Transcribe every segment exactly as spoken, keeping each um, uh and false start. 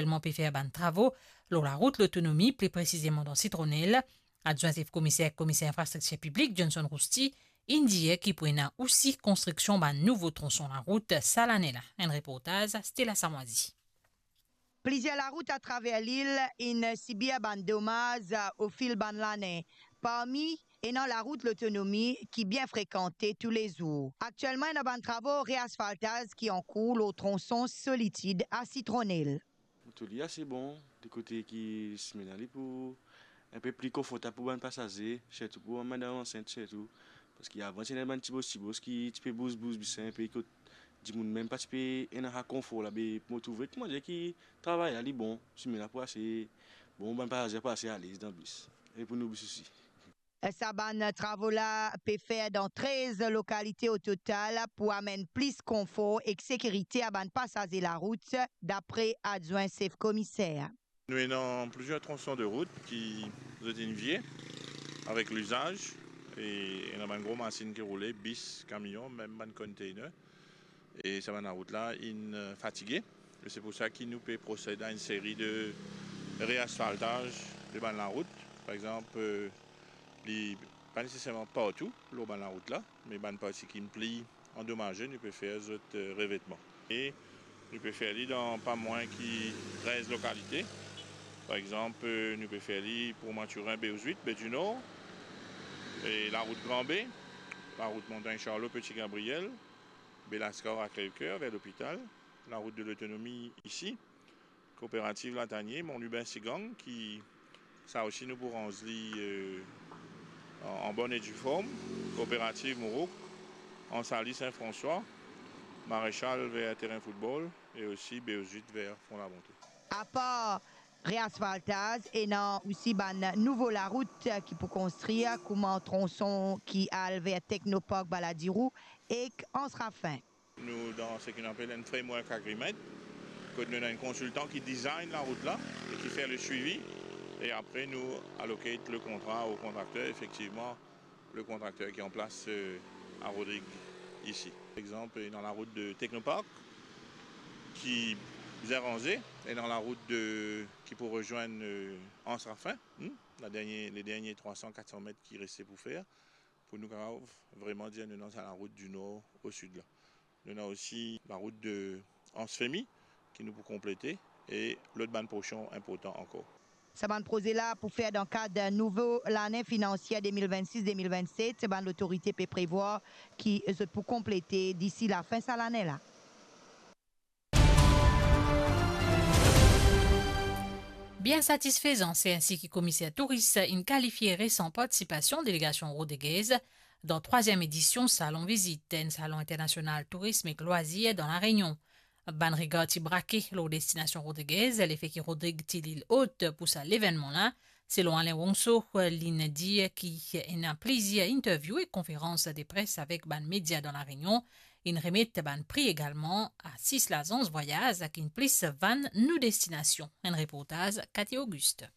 Gouverneman pe fer bann travo lor larout Lotonomi, pli presizeman dan Sitronel. Adwin sef komiser, komiser infrastriktir piblik, Johnson Rousty, inn dir ki pou ena osi konstriksion bann nouvo tronson larout sa lane la. Enn reportaz Stella Samwazi. Plizier larout atraver lil inn sibir bann domaz o fil bann lane. Parmi ena larout Lotonomi ki bien frekante toulezour. Aktielman, ena bann travo reasfaltaz ki ankour lor tronson Solitid a Sitronel. Mo trouv li ase bon, de kote ki simin la li pou inpe pli konfortab pou bann pasaze, sirtou pou bann madam ansint sirtou. Parski avan ti ena bann tibos tibos ki ti pe bouz bouz bis inpe, kot dimoun mem pa ti pe ena sa konfor la, be mo trouve kouma dir ki travay la li bon, simin la pou ase bon, bann pasaze pou ase alez dan bis, e pou nou bis osi. Sa bann travo la pe fer dan trez lokalite o total pou amenn plis konfor ek sekirite a bann pasaze larout, dapre adwin sef komiser. Nou ena plizier tronson de rout ki zot inn vie avek lizaz, e ena bann gro masinn ki roule, bis, kamion, mem bann container. E sa bann larout la inn, eh, fatige. E se pou sa ki nou pe prosed a enn seri de reasfaltaz de bann larout. Par exanp, eh, li pa neseserman partou lor bann larout la, me bann parti ki pli andomaze, nou pe fer zot, eh, revetman. E nou pe fer li dan pa mwin ki trez lokalite. Par exanp, eh, nou pe fer li Pont Mathurin, Baie aux Huîtres, Baie du Nord, e larout Gran Be, larout Montagne Charlot, Petit Gabriel, Belascar a Crèvecoeur, ver lopital, larout de Lotonomi isi, Kooperativ Latanie, Mont Lubin, Sigang, ki sa osi nou pou ranz li, eh, an, an bonn e di form, Kooperativ Mourouk, Anse Alix, Saint-François, Maréchal ver terin foutbol e osi Baie aux Huîtres ver Fond la Bonté. Apar reasfaltaz, ena osi bann nouvo larout ki pou konstrir, kouma tronson ki al ver Technopark Balladirou ek Anse Raffin. Nou dan seki nou apel enn framework agreement, kot nou ena enn konsiltan ki design larout la e ki fer le swivi, e apre nou allocate le kontra o kontrakter. Efektivman, le kontrakter ki an plas, eh, a Rodrig isi. Par exanp, ena larout de Technopark ki bizin ranze, ena larout de, ki pou rezwenn, eh, Anse Raffin, hmm, la dernie, le dernie trwa san, kat san met ki reste pou fer, pou nou kapav vreman dir nou ena sa larout di nor o sid la. Nou ena osi larout de Anse Femy ki nou pou konplete e lot bann porsion inportan ankor. Sa bann proze la pou fer dan kad nouvo lane finansier de mil vennsis de mil vennset, bann lotorite pe prevwar ki zot pou konplete disi lafin sa lane la. Bien satisfezan, se ensi ki komiser touris inn kalifie resan partisipasion delegasion Rodriguez dan trwaziem edision Salon Vizit, enn salon internasional tourism ek lwazir dan La Reunion. Bann regar ti brake lor destinasion Rodriguez, lefe ki Rodrig ti lil ot pou sa levennman la. Selon Alain Wongso, li'nn dir ki ena plizier interview ek konferans de pres avek bann media dan La Reunion. Inn remet bann pri egalman a sis lazans vwayaz ki'nn plis vann nou destinasion. Enn reportaz Cathy Auguste.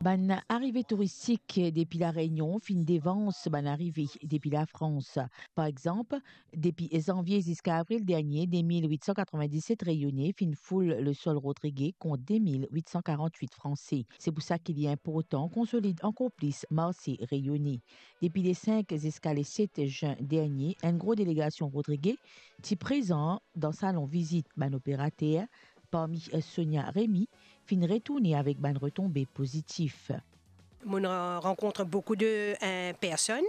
Bann arive touristik depi La Reunion finn devans bann arive depi Lafrans. Par exanp, depi zanvie ziska avril dernie, de mil wit san katrevin-diset Reyone finn foul lesol Rodrige kont de mil wit san karant-wit Franse. Se pou sa ki li inportan konsolid ankor plis marse Reyone. Depi le sink ziska le set zin dernie, enn gro delegasion Rodrige ti prezan dan salon vizit bann operater, parmi Sonia Remy, finn retourne avek bann retonbe pozitif. Mo'nn ra-, rankontre boukou de, eh, personn,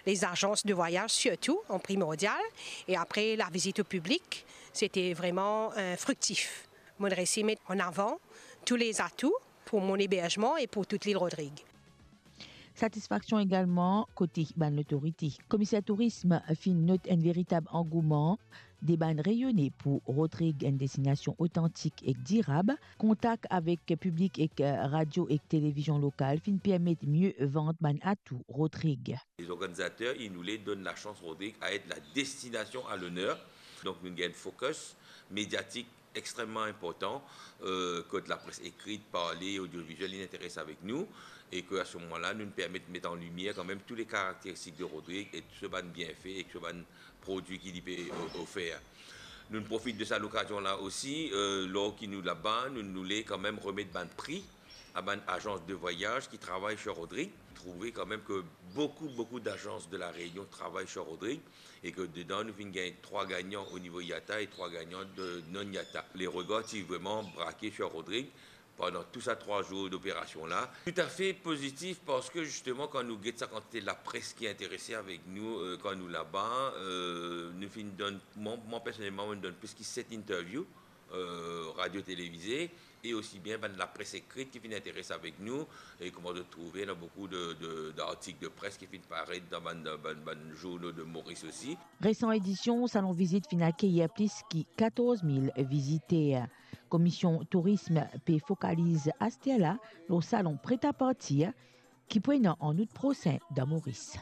les agences de voyage surtout, en primordial, et après la visite au public, c'était vraiment, eh, fructif. Mo'nn resi met en avant tous les atouts pour mon hébergement et pour toute l'île Rodrigues. Satisfaksion egalman kote bann lotorite. Komiser tourism finn not enn veritab angouman de bann Reyone pou Rodrig, enn destinasion otantik ek dirab. Kontak avek piblik ek, eh, radio ek televizion lokal finn permet mie vant bann atou Rodrig. Les organisateurs, ils voulaient donner la chance Rodrigue à être la destination à l'honneur. Donc, nou gagn focus médiatique extrêmement important, euh, kot lapres ekrit, parle, audiovisuel, li interes avek nou, e ke a se moman la, nou permet met an limier kanmem tou le karakteristik de Rodrig e tou so bann bienfe e tou so bann prodwi ki li pe o-, ofer. Nou profit de sa lokazion la osi, euh, lor ki nou laba, nou, nou le kanmem remet bann pri a bann azans de vwayaz ki travay Sir Rodrig. Trouve kanmem ke boukou, boukou dazans de La Réunion travay Sir Rodrig e ke dedan nou finn gagn trwa gagnan o nivo IATA e trwa gagnan de non-IATA. Le regar ti vreman brake Sir Rodrig pandan tou sa trwa zour doperasion la. Toutafe pozitif parski zisteman kan nou get sa kantite lapres ki interese avek nou, euh, kan nou laba, euh, nou finn donn, mwa, mwa personelman, mo donn plis ki set interview, euh, radio televize, e osi bien bann lapres ekrit ki finn interese avek nou, e kouma zot trouve, ena boukou de, de, dartik de pres ki finn paret dan bann, dan bann, bann zournal de Moris osi. Resan edision Salon Vizit finn akeyir plis ki katorz mil viziter. Komisyon Tourism pe fokaliz aster la lor salon Prêt à Partir ki pou ena an out prosin dan Moris.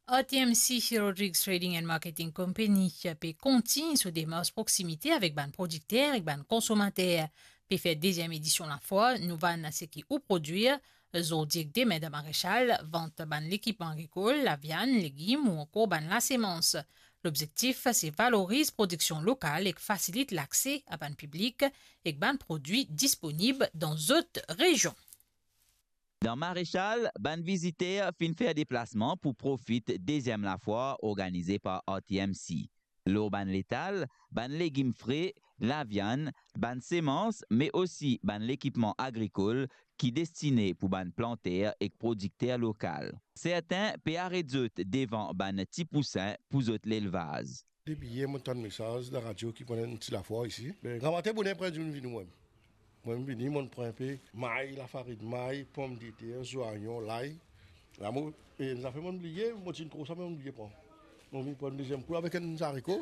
R T M C, Rodrigues Trading and Marketing Company, pe kontign so demars proksimite avek bann prodikter ek bann konsomater. Pe fer deziem edision lafwar Nou vann seki ou prodwir, zordi ek demin dan Marechal, vant bann lekipman agrikol, laviann, legim ou ankor bann lasemans. Lobzektif, se valoriz prodiksion lokal ek fasilit lakse a bann piblik ek bann prodwi disponib dan zot rezion. Dan Marechal, bann viziter finn fer deplasman pou profit deziem lafwar organize par R T M C. Lor bann letal, bann legim fre, laviann, bann semans, me osi bann lekipman agrikol ki destine pou bann planter ek prodikter lokal. Sertin pe aret zot devan bann ti pousin pou zot lelvaz. Depi yer mo tann mesaz dan radio ki pou ena enn ti lafwar isi. Me gramatin boner pre dimoun vini mwa. Mwa mo vini, mo pran inpe may, lafarin may, pomdeter, zwayon, lay. La mo, e, zafer mo bliye, mo ti tro sa, mo bliye pran. Mo vinn pran deziem kou avek enn zariko,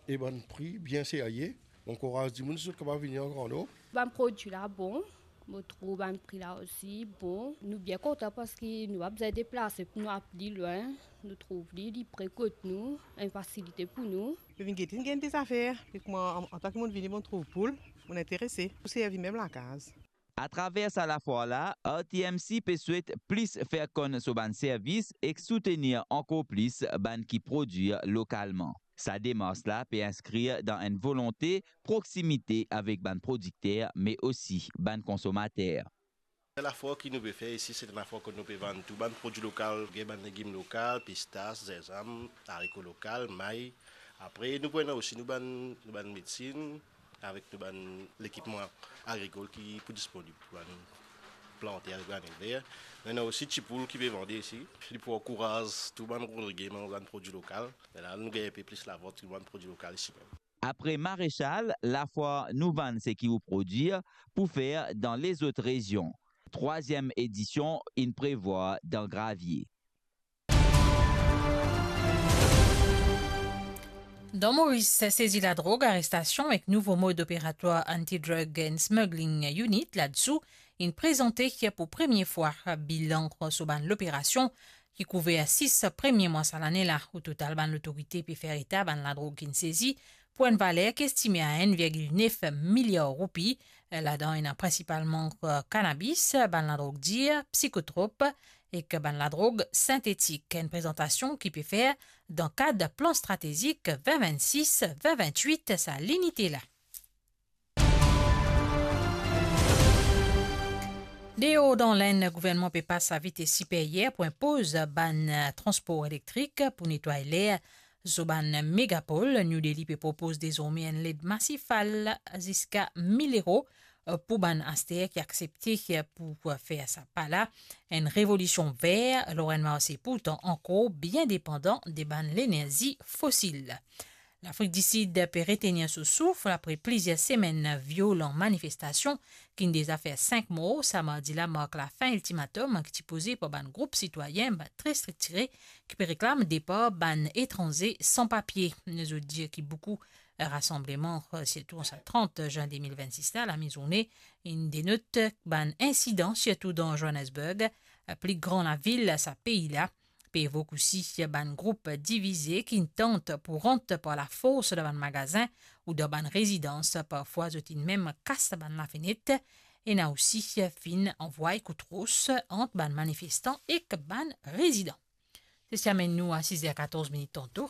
e bann pri bien serye. Mo ankouraz dimoun si zot kapav vini an gran nonb. Bann prodwi la bon, mo trouv bann pri la osi bon. Nou bien kontan parski nou pa bizin deplase pou nou al pli lwin. Nou trouv li, li pre kot nou, enn fasilite pou nou. Mo vinn gete, inn gagn de zafer. E kouma an, antan ki mo vini, mo trouv poul, mo interese pou servi mem lakaz. Atraver sa lafwar la, R T M C pe swet plis fer konn so bann servis ek soutenir ankor plis bann ki prodwir lokalman. Sa demars la pe inskrir dan enn volonte proksimite avek bann prodikter, me osi bann konsomater. Lafwar ki nou pe fer isi, se enn lafwar kot nou pe vann tou bann prodwi lokal, gagn bann legim lokal, pistas, zinzam, zariko lokal, may. Apre, nou pou ena osi nou bann, nou bann medsin, avek nou bann lekipman agrikol ki pou disponib pou bann planter avek bann elver. Nou ena osi ti poul ki pe vande isi. Li pou ankouraz tou bann Rodrigien manz bann prodwi lokal. Lerla nou gagn inpe plis lavant pou bann prodwi lokal isi mem. Apre Marechal, lafwar Nou vann seki ou prodwir pou fer dan lezot rezion. Trwaziem edision inn prevwar dan Gravie. Dan Moris, sezi ladrog, arestasion ek nouvo mod operatwar Anti-Drug and Smuggling Unit, ladsou, inn prezante pou premie fwa bilan so bann loperasion ki kouver sis premie mwa sa lane la. O total, bann lotorite pe fer eta bann ladrog ki'nn sezi pou enn valer ki estime a enn virgil nef miliar roupi. Ladan ena prinsipalman, eh, kanabis, bann ladrog dir, psikotrop ek bann ladrog sintetik. Enn prezantasion ki pe fer dan kad plan stratezik vin vinn-sis, vin vinn-wit, sa linite la. Deor dan Lenn, gouvernman pe pas sa vites siperyer pou inpoz bann, eh, transpor elektrik pou netway ler so bann megapol. New Delhi pe propoz dezorme enn led masifal ziska mil euro, eh, pou bann aster ki aksepte, eh, pou, eh, fer sa pa la. Enn revolision ver lor enn marse pourtan ankor bien depandan de bann lenerzi fosil. Lafrik Disid pe retenir so souf apre plizier semenn violan manifestasion ki'nn deza fer sink mor. Sa mardi la mark lafin iltimatom ki ti poze par bann group sitwayin, bann tre striktire, ki pe reklam depar bann etranze san papie. Zot dir ki boukou rasanbleman, sirtou an sa trant zin de mil vinn-sis la, lame zourne, inn denot bann insidan, sirtou dan Johannesburg, pli gran lavil sa pei la. Pe evok osi bann group divize ki'nn tant pou rant par lafors dan bann magazin ou dan bann rezidans. Parfwa, zot inn mem kas bann lafenet. Ena osi finn anvway kout ros ant bann manifestan ek bann rezidan. Se ti amenn nou a siz er katorz minit tanto.